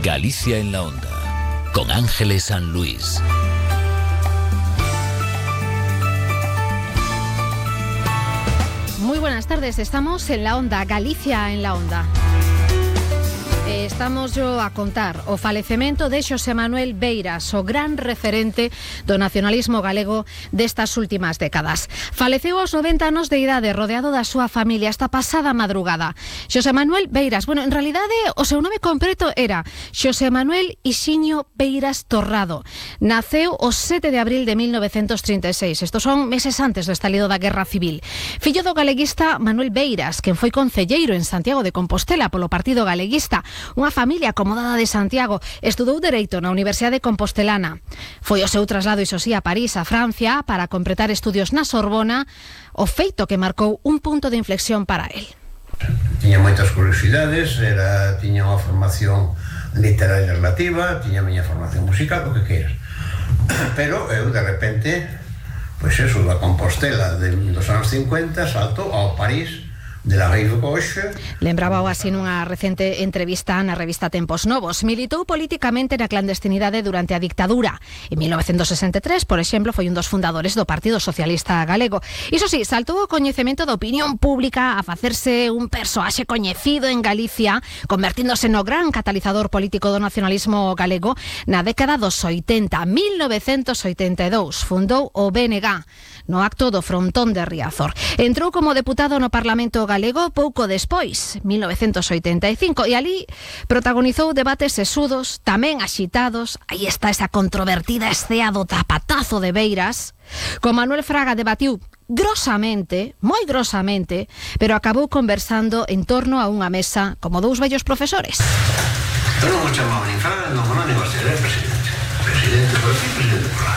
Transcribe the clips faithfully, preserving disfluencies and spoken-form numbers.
Galicia en la Onda, con Ángeles San Luis. Muy buenas tardes, estamos en la Onda, Galicia en la Onda. Estamos yo a contar o falecemento de Xosé Manuel Beiras, o gran referente do nacionalismo galego destas últimas décadas. Faleceu aos noventa anos de idade, rodeado da súa familia esta pasada madrugada. Xosé Manuel Beiras, bueno, en realidade o seu nome completo era Xosé Manuel Ixiño Beiras Torrado. Naceu o sete de abril de mil novecentos trinta e seis. Estos son meses antes do estalido da Guerra Civil. Fillo do galeguista Manuel Beiras, quen foi concelleiro en Santiago de Compostela polo Partido Galeguista. Unha familia acomodada de Santiago, estudou Dereito na Universidade Compostelana. Foi o seu traslado, iso sí, a París, a Francia, para completar estudios na Sorbona, o feito que marcou un punto de inflexión para él. Tiña moitas curiosidades, era, tiña unha formación literaria relativa, tiña a miña formación musical, o que queiras. Pero eu, de repente, pois eso, da Compostela de, dos anos cincuenta, salto ao París, de la Rive Gauche. Lembraba así nunha recente entrevista na revista Tempos Novos. Militou políticamente na clandestinidade durante a dictadura. En mil novecentos sesenta e tres, por exemplo, foi un dos fundadores do Partido Socialista Galego. Iso sí, saltou o coñecemento da opinión pública a facerse un persoaxe coñecido en Galicia, convertíndose no gran catalizador político do nacionalismo galego na década dos oitenta. mil novecentos oitenta e dous fundou o B N G no acto do frontón de Riazor. Entrou como deputado no Parlamento Galego pouco despois, mil novecentos oitenta e cinco, e ali protagonizou debates sesudos, tamén axitados. Aí está esa controvertida escea do tapatazo de Beiras. Con Manuel Fraga debatiu grosamente, moi grosamente, pero acabou conversando en torno a unha mesa como dous vellos profesores. Eu non o chamaba nin Fraga, non, non, nin você, era presidente. Presidente por aquí, presidente por lá.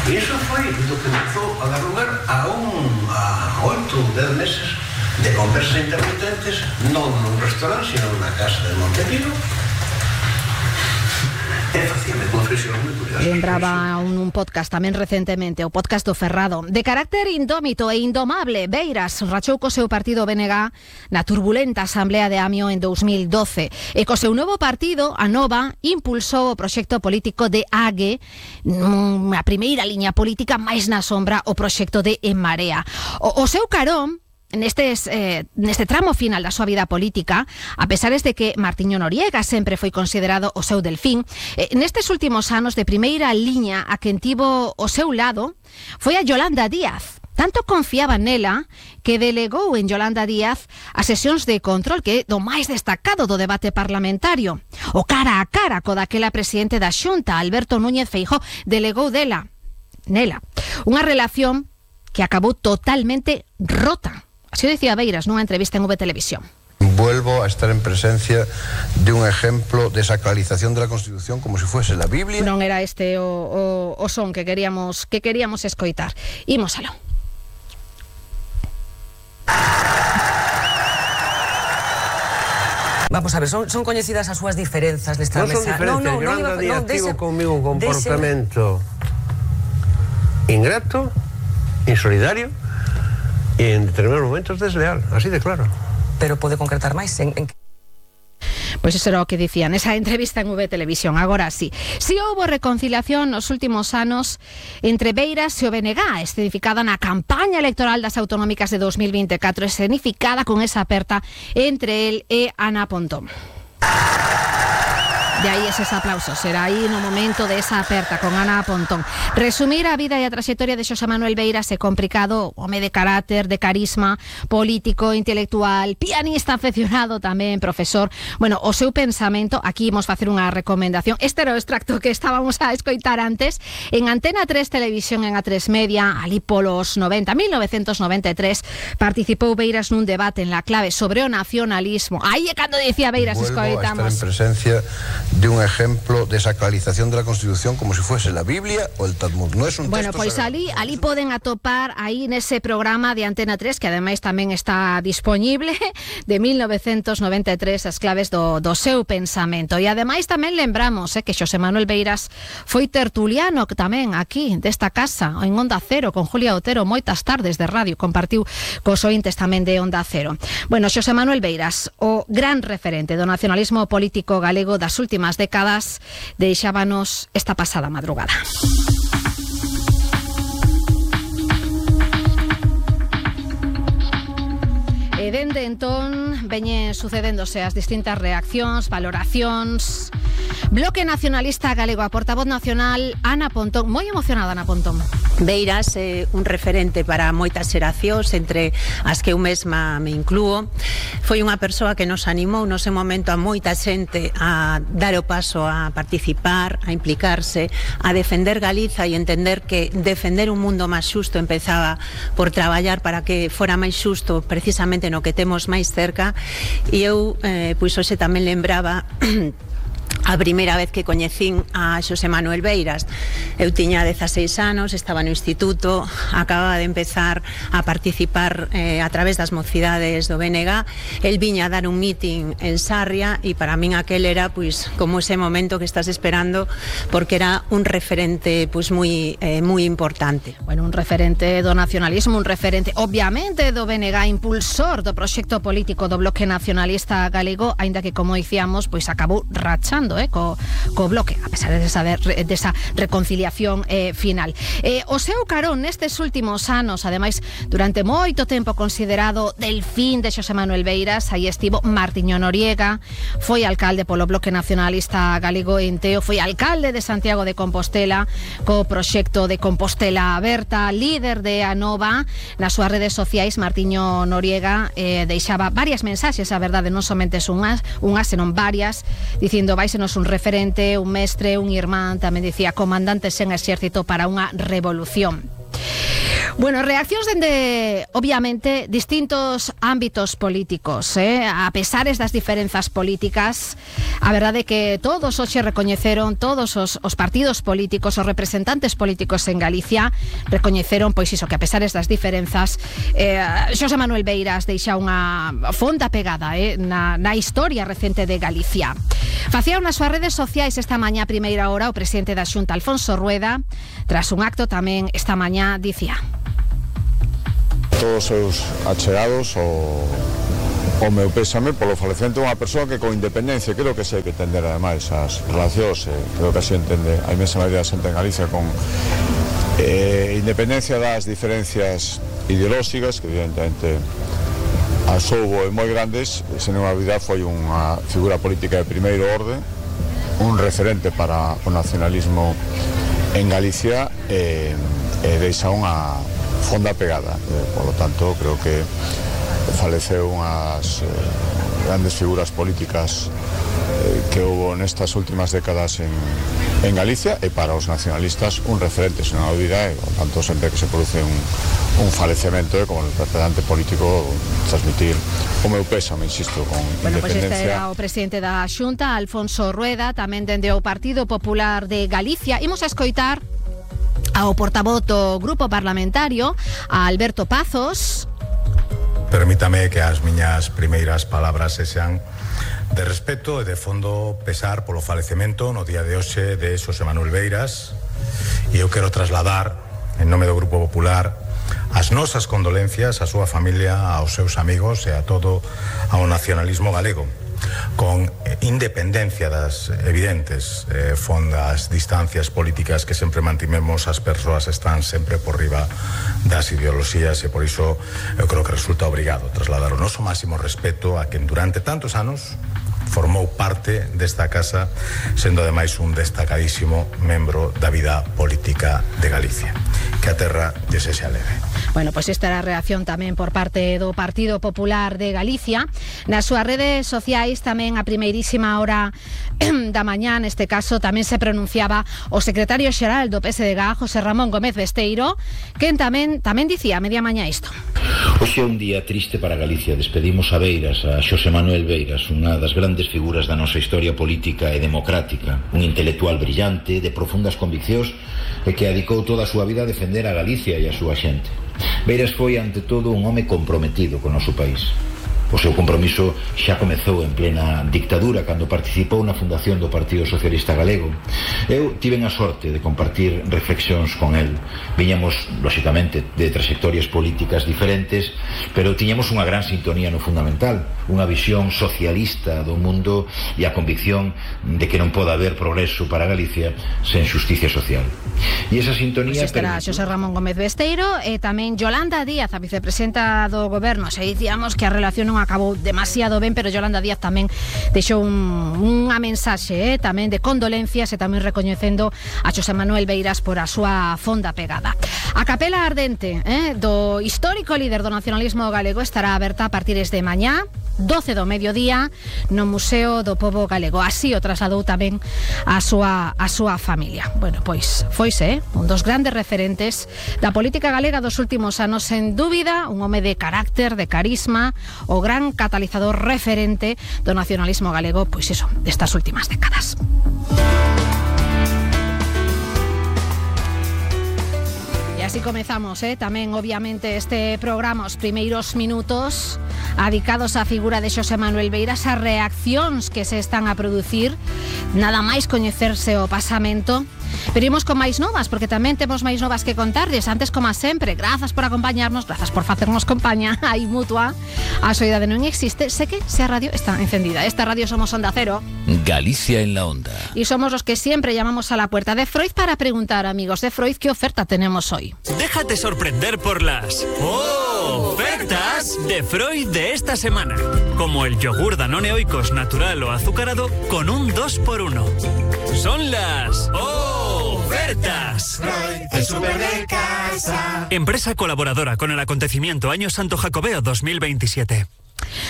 E iso foi do que empezou a dar lugar a un a oito, dez meses de conversas intermitentes, non nun restaurante, sino nunha casa de Montepío. E facíame confesión moi curiosas. Lembraba un, un podcast tamén recentemente, o podcast do Ferrado. De carácter indómito e indomable, Beiras rachou co seu partido B N G na turbulenta Asamblea de Amio en dous mil doce. E co seu novo partido, a Nova, impulsou o proxecto político de A G, a primeira liña política máis na sombra, o proxecto de En Marea. O, o seu carón, Nestes, eh, neste tramo final da súa vida política, a pesares de que Martiño Noriega sempre foi considerado o seu delfín, eh, nestes últimos anos de primeira liña a quen tivo o seu lado foi a Yolanda Díaz. Tanto confiaba nela que delegou en Yolanda Díaz as sesións de control, que é do máis destacado do debate parlamentario. O cara a cara co daquela presidente da Xunta, Alberto Núñez Feijóo, delegou dela, nela, unha relación que acabou totalmente rota. Así decía Beiras nunha entrevista en V Televisión. Vuelvo a estar en presencia de un ejemplo de sacralización de la Constitución como si fuese la Biblia. Non era este o, o, o son que queríamos que queríamos escoitar. Ímosalo. Vamos a ver, son, son coñecidas as súas diferenzas nesta mesa. Non son diferentes, no, no, Yolanda no, Díaz no, tivo conmigo un comportamento dese... ingrato, insolidario, e en determinados momentos desleal, así de claro. Pero pode concretar máis en, en... Pois iso era o que dicían esa entrevista en V Televisión. Agora sí, si houbo reconciliación nos últimos anos entre Beiras e o B N G, escenificada na campaña electoral das autonómicas de dos mil veinticuatro, escenificada con esa aperta entre el e Ana Pontón. De aí eses aplausos, será aí no momento de esa aperta con Ana Pontón. Resumir a vida e a traxectoria de Xosé Manuel Beiras é complicado, home de carácter, de carisma, político, intelectual, pianista aficionado tamén, profesor. Bueno, o seu pensamento, aquí imos facer unha recomendación. Este era o extracto que estábamos a escoitar antes en Antena tres Televisión, en A tres Media, ali polos noventa, mil novecentos noventa e tres, participou Beiras nun debate en La Clave sobre o nacionalismo. Aí é cando dicía Beiras, escoitamos. Vuelvo a estar en presencia de un ejemplo de sacralización de la Constitución como si fuese la Biblia o el Talmud. No es un Bueno, texto pois sagrado. ali, ali poden atopar aí nese programa de Antena tres, que ademais tamén está disponible, de mil novecentos noventa e tres, as claves do, do seu pensamento. E ademais tamén lembramos eh, que Xosé Manuel Beiras foi tertuliano tamén aquí desta casa, en Onda Cero, con Julia Otero, moitas tardes de radio, compartiu cos ointes tamén de Onda Cero. Bueno, Xosé Manuel Beiras, o gran referente do nacionalismo político galego das últimas décadas, deixábanos esta pasada madrugada. E dende entón veñen sucedéndose as distintas reaccións, valoracións. Bloque Nacionalista Galego, a portavoz nacional Ana Pontón, moi emocionada Ana Pontón. Beiras é un referente para moitas xeracións, entre as que eu mesma me inclúo. Foi unha persoa que nos animou no seu momento a moita xente a dar o paso a participar, a implicarse, a defender Galiza e entender que defender un mundo máis xusto empezaba por traballar para que fora máis xusto precisamente no que temos máis cerca. E eu, eh, pois hoxe tamén lembraba a primeira vez que coñecín a Xosé Manuel Beiras. Eu tiña dezaseis anos, estaba no instituto, acababa de empezar a participar eh, a través das mocidades do B N G. El viña a dar un meeting en Sarria e para min aquel era pois como ese momento que estás esperando, porque era un referente pois moi eh, moi importante. Bueno, un referente do nacionalismo, un referente obviamente do B N G, impulsor do proxecto político do Bloque Nacionalista Galego, aínda que como dicíamos, pois acabou rachando Eh, co, co bloque, a pesar de esa, de esa reconciliación eh, final. Eh, o seu carón nestes últimos anos, ademais, durante moito tempo considerado del fin de Xosé Manuel Beiras, aí estivo Martiño Noriega, foi alcalde polo Bloque Nacionalista Galego en Teo, foi alcalde de Santiago de Compostela co proxecto de Compostela Aberta, líder de Anova. Nas súas redes sociais, Martiño Noriega eh, deixaba varias mensaxes, a verdade, non somente unhas, unhas, senón varias, dicindo vai nos un referente, un mestre, un irmán, tamén dicía comandante sen exército para unha revolución. Bueno, reaccións dende, obviamente, distintos ámbitos políticos, eh? A pesares das diferenzas políticas, a verdade é que todos hoxe recoñeceron, todos os, os partidos políticos, os representantes políticos en Galicia, recoñeceron, pois iso, que a pesares das diferenzas, eh, Xosé Manuel Beiras deixa unha fonda pegada eh, na, na historia recente de Galicia. Facía nas súas redes sociais esta mañá a primeira hora o presidente da Xunta, Alfonso Rueda, tras un acto tamén esta mañá, dicía: todos os seus achegados o, o meu pésame polo falecemento dunha persoa que con independencia creo que se hai que entender ademais as relacións, eh, creo que así entende a inmensa maioría da xente en Galicia, con eh, independencia das diferencias ideolóxicas que evidentemente as houbo e moi grandes. Sen unha dúbida foi unha figura política de primeiro orde, un referente para o nacionalismo en Galicia e, e deixa unha fonda pegada, eh, por lo tanto creo que faleceu unhas eh, grandes figuras políticas eh, que houbo nestas últimas décadas en, en Galicia, e para os nacionalistas un referente, sen unha dúbida, e por tanto sempre que se produce un, un falecemento, eh, como representante político, transmitir o meu pésame, insisto, con bueno, pues independencia. Este era o presidente da Xunta, Alfonso Rueda, tamén dende o Partido Popular de Galicia. Imos a escoitar ao portavoz do grupo parlamentario, a Alberto Pazos. Permítame que as miñas primeiras palabras sexan de respeto e de fondo pesar polo falecemento no día de hoxe de Xosé Manuel Beiras, e eu quero trasladar en nome do Grupo Popular as nosas condolencias á súa familia, aos seus amigos e a todo ao nacionalismo galego, con independencia das evidentes eh, fondas distancias políticas que sempre mantimemos. As persoas están sempre por riba das ideoloxías e por iso eu creo que resulta obrigado trasladar o noso máximo respeto a quen durante tantos anos formou parte desta casa, sendo ademais un destacadísimo membro da vida política de Galicia. Que a terra lle sexa leve. Bueno, pois esta era a reacción tamén por parte do Partido Popular de Galicia. Nas súas redes sociais tamén a primeirísima hora da mañá, neste caso, tamén se pronunciaba o secretario xeral do P S D G, José Ramón Gómez Besteiro, quen tamén tamén dicía a media mañá isto. Hoxe é un día triste para Galicia. Despedimos a Beiras, a Xosé Manuel Beiras, unha das grandes figuras da nosa historia política e democrática, un intelectual brillante, de profundas conviccións e que dedicou toda a súa vida a defender a Galicia e a súa xente. Beiras foi, ante todo, un home comprometido con o noso país. O seu compromiso xa comezou en plena dictadura, cando participou na fundación do Partido Socialista Galego. Eu tiven a sorte de compartir reflexións con el. Viñamos, lóxicamente, de trayectorias políticas diferentes, pero tiñamos unha gran sintonía no fundamental, unha visión socialista do mundo e a convicción de que non pode haber progreso para Galicia sen xusticia social. E esa sintonía... Pois estará Xosé Ramón Gómez Besteiro e tamén Yolanda Díaz, a vicepresidenta do Goberno. Se dicíamos que a relación non acabou demasiado ben, pero Yolanda Díaz tamén deixou un, unha mensaxe eh, tamén de condolencias e tamén recoñecendo a Xosé Manuel Beiras por a súa fonda pegada. A capela ardente eh, do histórico líder do nacionalismo galego estará aberta a partir de mañá, doce do mediodía, no Museo do Pobo Galego. Así o trasladou tamén a súa, a súa familia. Bueno, pois foise, eh, un dos grandes referentes da política galega dos últimos anos, sen dúbida, un home de carácter, de carisma, o gran catalizador referente do nacionalismo galego, pois iso, destas últimas décadas. E así comezamos, eh, tamén obviamente este programa, os primeiros minutos dedicados á figura de Xosé Manuel Beiras, as reaccións que se están a producir, nada máis coñecerse o pasamento. Pero imos con máis novas, porque tamén temos máis novas que contarles. Antes, como sempre, grazas por acompañarnos, grazas por facernos compañía aí mutua. A soidade non existe, sé que se a radio está encendida. Esta radio somos Onda Cero, Galicia en la Onda, y somos los que siempre llamamos a la puerta de Freud para preguntar, amigos de Freud, ¿qué oferta tenemos hoy? Déjate sorprender por las ofertas de Freud de esta semana, como el yogur Danone Oikos natural o azucarado con un dos por uno. Son las ofertas. Freud, el súper de casa. Empresa colaboradora con el acontecimiento Año Santo Jacobeo dos mil veintisiete.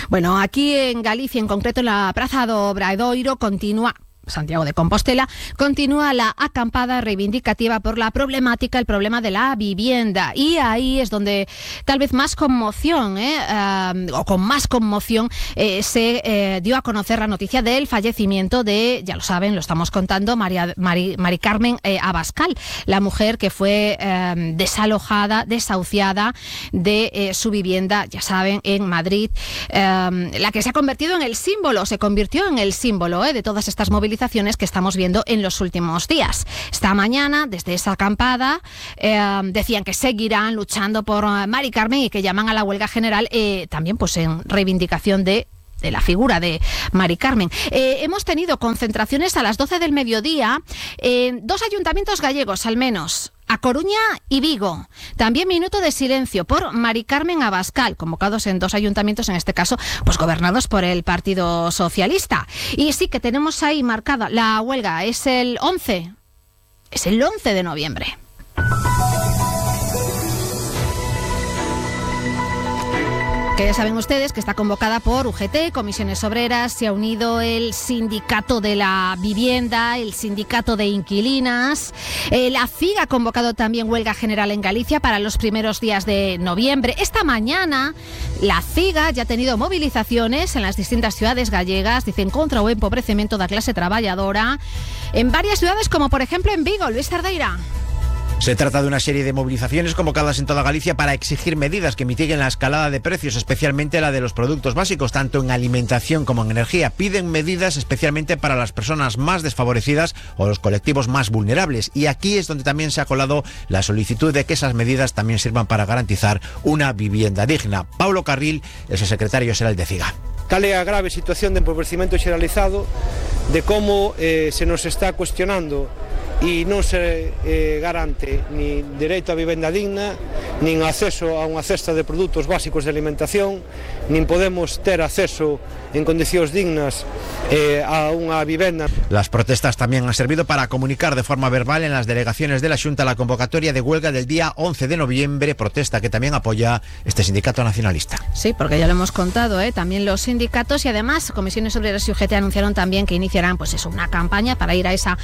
Bueno, aquí en Galicia, en concreto en la Praza do Obradoiro, continúa... Santiago de Compostela, continúa la acampada reivindicativa por la problemática, el problema de la vivienda. Y ahí es donde tal vez más conmoción, eh, uh, o con más conmoción, eh, se eh, dio a conocer la noticia del fallecimiento de, ya lo saben, lo estamos contando, María, Mari, Mari Carmen eh, Abascal, la mujer que fue eh, desalojada, desahuciada de eh, su vivienda, ya saben, en Madrid, eh, la que se ha convertido en el símbolo, se convirtió en el símbolo eh, de todas estas movilizaciones que estamos viendo en los últimos días. Esta mañana, desde esa acampada, eh, decían que seguirán luchando por uh, Mari Carmen y que llaman a la huelga general, eh, también pues en reivindicación de de la figura de Mari Carmen. Eh, hemos tenido concentraciones a las doce del mediodía en dos ayuntamientos gallegos, al menos, A Coruña y Vigo. También minuto de silencio por Mari Carmen Abascal, convocados en dos ayuntamientos, en este caso, pues gobernados por el Partido Socialista. Y sí que tenemos ahí marcada la huelga, es el once, es el once de noviembre. Que ya saben ustedes que está convocada por U G T, Comisiones Obreras, se ha unido el Sindicato de la Vivienda, el Sindicato de Inquilinas, eh, la C I G ha convocado también huelga general en Galicia para los primeros días de noviembre. Esta mañana la C I G ya ha tenido movilizaciones en las distintas ciudades gallegas, dicen, contra o empobrecimiento da clase traballadora, en varias ciudades como por ejemplo en Vigo. Luis Cerdeira. Se trata de una serie de movilizaciones convocadas en toda Galicia para exigir medidas que mitiguen la escalada de precios, especialmente la de los productos básicos, tanto en alimentación como en energía. Piden medidas especialmente para las personas más desfavorecidas o los colectivos más vulnerables. Y aquí es donde también se ha colado la solicitud de que esas medidas también sirvan para garantizar una vivienda digna. Paulo Carril es el secretario xeral de C I G A. Cal é a grave situación de empobrecimento xeralizado, de como eh, se nos está cuestionando e non se eh, garante ni dereito a vivenda digna, nin acceso a unha cesta de produtos básicos de alimentación, nin podemos ter acceso en condicións dignas eh, a unha vivenda. Las protestas también han servido para comunicar de forma verbal en las delegaciones de la Xunta la convocatoria de huelga del día once de noviembre, protesta que también apoya este sindicato nacionalista. Sí, porque ya lo hemos contado, ¿eh? También los sindicatos y además Comisiones Obreras y U G T anunciaron también que iniciarán pues eso, una campaña para ir a esa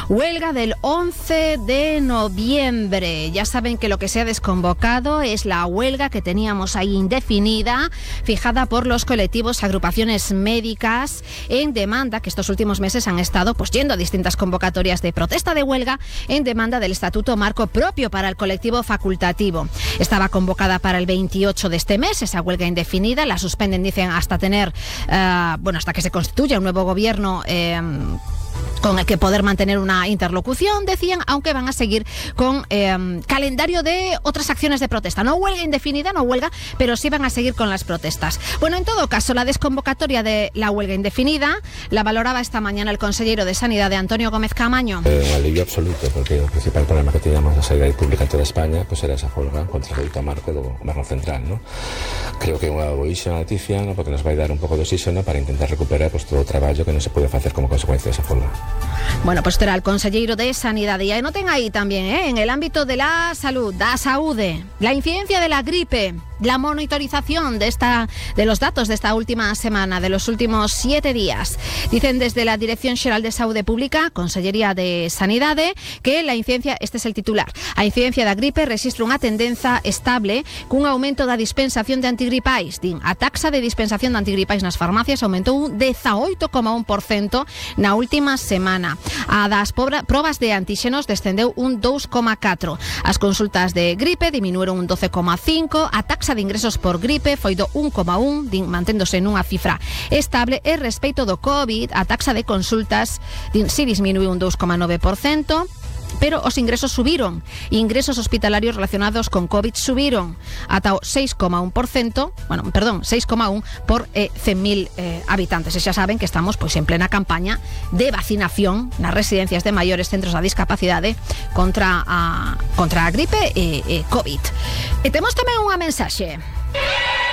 huelga del once de noviembre. Ya saben que lo que se ha desconvocado es la huelga que teníamos ahí indefinida, fijada por los colectivos, agrupaciones médicas, en demanda, que estos últimos meses han estado pues yendo a distintas convocatorias de protesta de huelga en demanda del estatuto marco propio para el colectivo facultativo. Estaba convocada para el veintiocho de este mes, esa huelga indefinida, la suspenden, dicen, hasta tener, uh, bueno, hasta que se constituya un nuevo gobierno eh, con el que poder mantener una interlocución, decían, aunque van a seguir con eh, calendario de otras acciones de protesta. No huelga indefinida, no huelga, pero sí van a seguir con las protestas. Bueno, en todo caso, la desconvocatoria de la huelga indefinida la valoraba esta mañana el consejero de Sanidad, de Antonio Gómez Camaño. Eh, un alivio absoluto, porque el principal problema que teníamos la sanidad pública en toda España pues era esa huelga contra el estatuto marco do goberno central, ¿no? Creo que é unha boísima noticia, ¿no? Porque nos vai dar un pouco de oxígeno para intentar recuperar pues, todo o traballo que non se pode facer como consecuencia desa huelga. Bueno, pues será el consejero de Sanidad. Y anoten ahí también, ¿eh? En el ámbito de la salud, da saúde, la incidencia de la gripe, la monitorización de esta, de los datos de esta última semana, de los últimos siete días. Dicen desde la Dirección Xeral de Saúde Pública, Consellería de Sanidade, que la incidencia, este es el titular, a incidencia da gripe registra unha tendenza estable cun aumento da dispensación de antigripais. Din, a taxa de dispensación de antigripais nas farmacias aumentou un dezaoito coma un por cento na última semana. A das probas de antíxenos descendeu un dous coma catro. As consultas de gripe diminuíron un doce coma cinco. A taxa de ingresos por gripe foi do un coma un, din, manténdose nunha cifra estable. E respecto do COVID, a taxa de consultas din, si disminuiu un dous coma nove por cento. Pero os ingresos subiron. Ingresos hospitalarios relacionados con COVID subiron ata o seis coma un por cento, bueno, perdón, seis coma un por eh, cen mil eh, habitantes. E xa saben que estamos pois en plena campaña de vacinación nas residencias de maiores, centros da discapacidade contra a contra a gripe e, e COVID. E temos tamén unha mensaxe.